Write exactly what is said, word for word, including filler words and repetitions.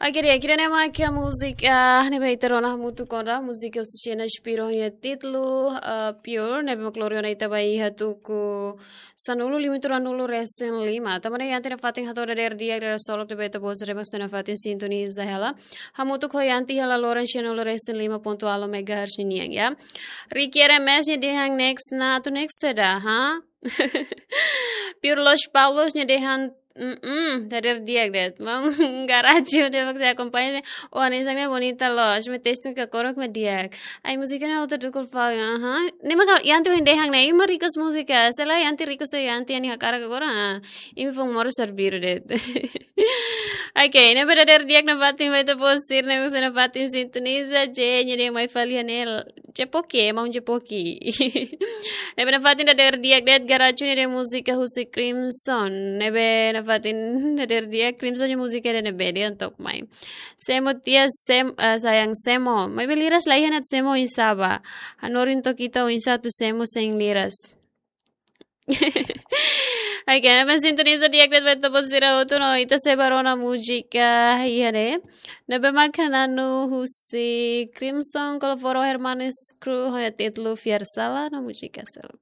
Oke, di'ak, ida-ne'e mak múzika, ah, ne'ebé ita rona hamutuk ona, múzika husi Xena Shapiro nia títulu, ah, Pure, ne'ebé mak lori ona ita ba iha tuku sanulu limanulu resin lima. Tanba ne'e iha ita-nia fatin hato'o dadeer di'ak, dadeer solok ne'ebé ita-boot sira mak sei nafatin sintoniza hela. Hamutuk ho ita iha laloran sanulu resin lima pontu ualu megahertz nian, ya. Ricky R M S nia dehan next na, atu next saida, ha? Pure Los Paulos nia dehan, mm, dadeer di'ak de'it. Maun Garajo ne'e mak sei akompaña ne'e. Oh, ne'e sang ne'e bonita loos, mak testing ka korok mak di'ak. Ai, múzika ne'e hotu dukul fau, aha. Ne'e mak Yanti ohin dehan ne'e, imi mak request múzika. Selae Yanti request, Yanti nia hakarak agora, ah. Imi foin moras servir de'it. Oke, ne'ebé dadeer di'ak nafatin ba ita-boot sira ne'ebé sei nafatin sintoniza, J nia dehan mai fali iha ne'e, Jepoki, maun Jepoki. Ne'ebé nafatin dadeer di'ak de'it Garajo nia dehan múzika husi Crimson. Ne'ebé nafatin dadeer di'ak Crimson nia múzika ida-ne'ebé dehan to'ok mai. Semo tia sem, eh, sayang semo. Maibé liras la iha ne'e atu semo oinsá bá. Hanorin took ita oinsá atu semo sein liras. Oke, ne'ebé sintoniza di'ak de'it ba ita-boot sira hotu no ita sei bá rona múzika iha ne'e. Ne'ebé mak Nanu husi Crimson, Koloforo Hermanes Crew, ho nia títulu Fiar Salah no múzika seluk.